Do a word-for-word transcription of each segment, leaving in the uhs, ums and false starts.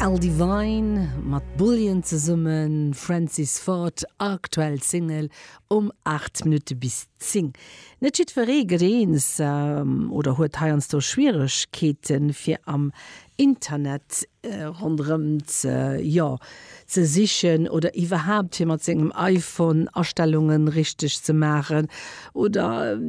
Al Divine mat Bullion zesummen, Francis Ford, aktuell Single um aacht Minutte bis zéng. Net jiddweree gëtt eens oder huet heiansdo Schwieregkeeten, fir am Internet ronderëm ze, jo, ze sichen oder iwwerhaapt fir mat sengem iPhone Astellungen richteg ze maachen oder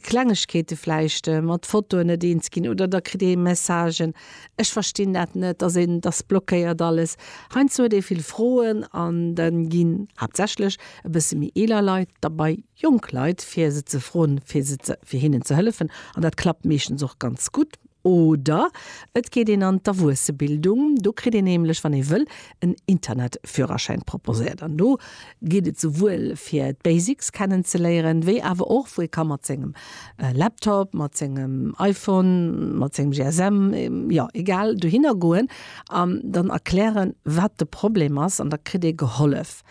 Klengegkeete vläicht mat Fotoen net eens ginn oder da kritt ee Messagen, ech verstinn dat net, dass een, dass blockéiert alles. Heiansdo huet ee vill Froen an da ginn haaptsächlech e bësse méi eeler Leit derbei, jonk Leit, fir se ze froen, fir se ze, fir hinnen ze hëllefen an dat klappt meeschtens och ganz gutt. Oder et geet een an d'Erwuessebildung, do kritt een nämlech, wann ee wëll, en Internetführerschäin proposéiert. An do geet et souwuel fir d'Basics kennen ze léieren, wéi awer och wou ee ka mat sengem Laptop, mat sengem iPhone, mat sengem G S M, jo egal, dohinner goen an dann erklären, wat de Problem ass an da kritt ee gehollef.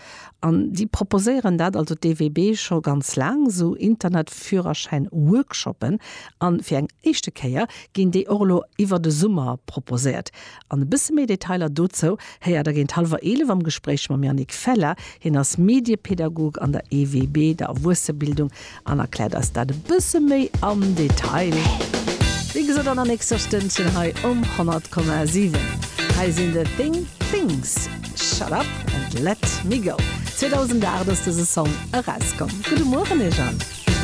An déi proposéieren dat, also d'E W B, scho ganz laang, sou Internetführerschäin-Workshoppen. An fir eng éischte Kéier ginn déi och elo iwwer de Summer proposéiert. An e bësse méi Detailer dozou héiert der géint hallwer eelef am Gespréich mam Yannick Feller. Hien ass Mediepedagog an der E W B, der Erwuessebildung, an erkläert eis dat e bësse méi am Detail. Wéi gesot an der nächster Stënnchen hei um honnert Komma siwen. Hei sinn The Thing Things, Shut Up and Let Me Go. zweedausendacht ass dëse Song erauskomm. Gudde Mueren iech all.